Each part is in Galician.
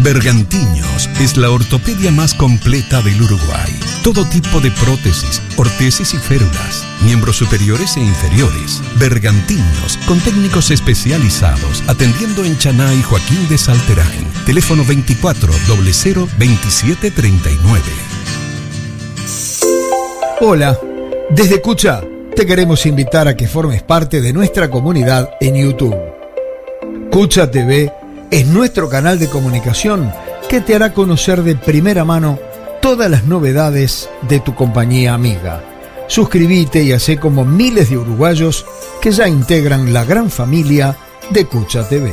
Bergantiños es la ortopedia más completa del Uruguay. Todo tipo de prótesis, ortesis y férulas, miembros superiores e inferiores. Bergantiños, con técnicos especializados, atendiendo en Chaná y Joaquín de Salterain. Teléfono 24 00 27 39. Hola, desde Cucha te queremos invitar a que formes parte de nuestra comunidad en YouTube. Cucha TV es nuestro canal de comunicación que te hará conocer de primera mano todas las novedades de tu compañía amiga. Suscríbete y hacé como miles de uruguayos que ya integran la gran familia de Cucha TV.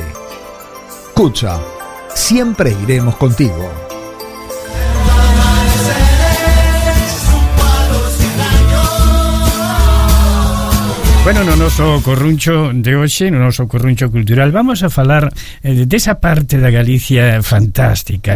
Cucha, siempre iremos contigo. Bueno, no noso corruncho de hoxe, no noso corruncho cultural, vamos a falar desa parte da Galicia fantástica,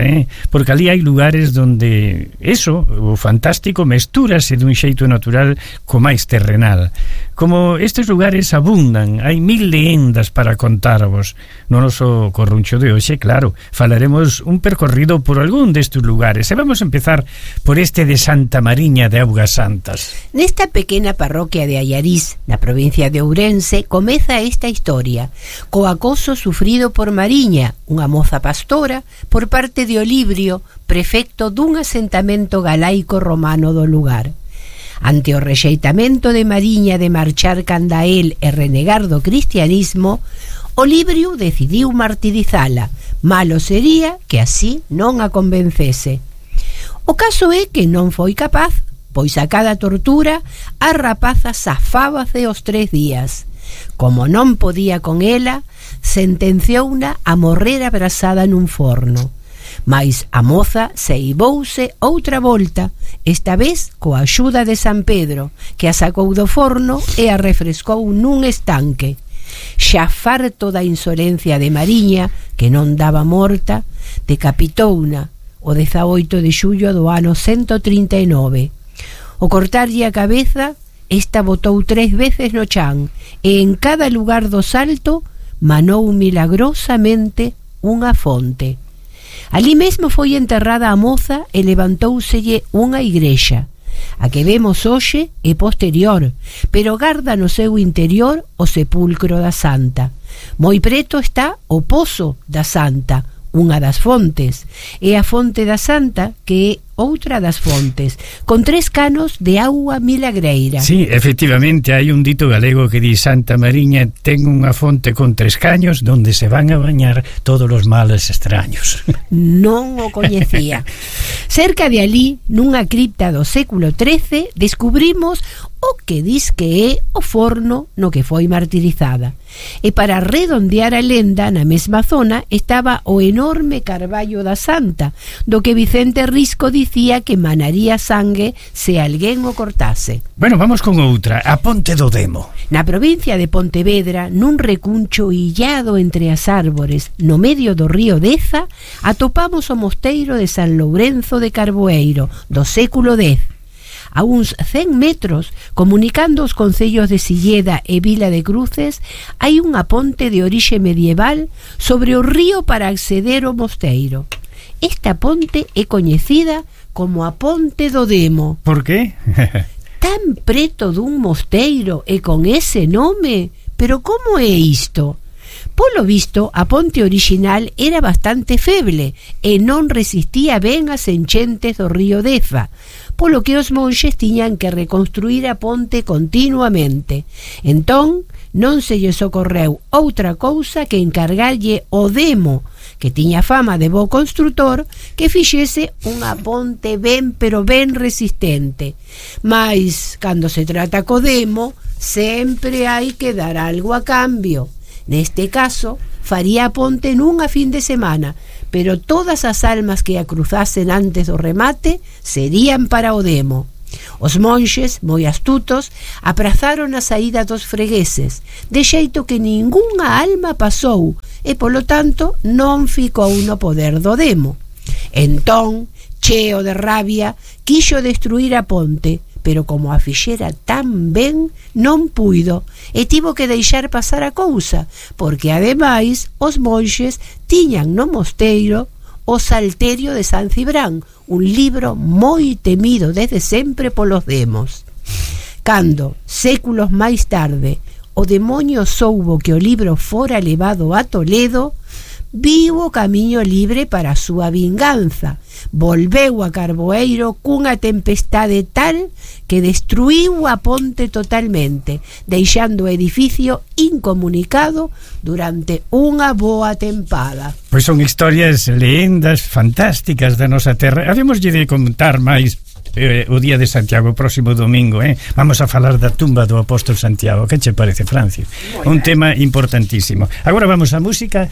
porque ali hai lugares donde eso, o fantástico, mestúrase dun xeito natural co máis terrenal. Como estes lugares abundan, hai 1000 leyendas para contarvos. No noso corruncho de hoxe, claro, falaremos un percorrido por algún destes lugares. E vamos a empezar por este de Santa Mariña de Augas Santas. Nesta pequena parroquia de Allariz, na provincia de Ourense, comeza esta historia, co acoso sufrido por Mariña, unha moza pastora, por parte de Olibrio, prefecto dun asentamento galaico romano do lugar. Ante o rexeitamento de Mariña de marchar canda el e renegar do cristianismo, Olibrio decidiu martirizala. Malo sería que así non a convencese. O caso é que non foi capaz, pois a cada tortura a rapaza zafábase os 3 días. Como non podía con ela, sentenciouna a morrer abrasada nun forno. Mais a moza seibouse outra volta, esta vez coa axuda de San Pedro, que a sacou do forno e a refrescou nun estanque. Xa farto da insolencia de Mariña, que non daba morta, decapitouna o 18 de xullo do ano 139. O cortarlle a cabeza, esta botou 3 veces no chan e en cada lugar do salto manou milagrosamente unha fonte. Ali mesmo foi enterrada a moza e levantóuselle unha igrexa. A que vemos hoxe é posterior, pero garda no seu interior o sepulcro da Santa. Moi preto está o Pozo da Santa, unha das fontes, e a Fonte da Santa, que é outra das fontes, con 3 canos de auga milagreira. Sí, efectivamente, hai un dito galego que di: Santa Mariña ten unha fonte con 3 caños donde se van a bañar todos os males extraños. Non o coñecía. Cerca de alí, nunha cripta do século XIII, descubrimos o que dis que é o forno no que foi martirizada. E para redondear a lenda, na mesma zona estaba o enorme carballo da Santa, do que Vicente Risco dicía que manaría sangue se alguén o cortase. Bueno, vamos con outra, a Ponte do Demo. Na provincia de Pontevedra, nun recuncho illado entre as árbores, no medio do río Deza, atopamos o mosteiro de San Lourenzo de Carboeiro, do século X. A uns 100 metros, comunicando os concellos de Silleda e Vila de Cruces, hai unha ponte de orixe medieval sobre o río para acceder ao mosteiro. Esta ponte é coñecida como a Ponte do Demo. Por qué? Tan preto dun mosteiro e con ese nome? Pero como é isto? Polo visto, a ponte orixinal era bastante feble e non resistía ben as enchentes do río Deza, polo que os monxes tiñan que reconstruir a ponte continuamente. Entón, non se lles ocorreu outra cousa que encargarlle o Demo, que tiña fama de bo construtor, que fixese unha ponte ben pero ben resistente. Mais, cando se trata co Demo, sempre hai que dar algo a cambio. Neste caso, faría a ponte nunha fin de semana, pero todas as almas que a cruzasen antes do remate serían para o Demo. Os monxes, moi astutos, aprazaron a saída dos fregueses, de xeito que ningunha alma pasou e, polo tanto, non ficou no poder do Demo. Entón, cheo de rabia, quixo destruir a ponte, pero como a fixera tan ben, non puido e tivo que deixar pasar a cousa, porque ademais os monxes tiñan no mosteiro O Salterio de San Cibrán, un libro moi temido desde sempre polos demos. Cando, séculos máis tarde, o demonio soubo que o libro fora levado a Toledo, viu o camiño libre para a súa vinganza. Volveu a Carboeiro cunha tempestade tal que destruiu a ponte totalmente, deixando o edificio incomunicado durante unha boa tempada. Pois son historias, leyendas fantásticas da nosa terra. Habémoslle de contar máis o día de Santiago, o próximo domingo, vamos a falar da tumba do apóstol Santiago. Que che parece, Francio? Un tema importantísimo. Agora vamos á música.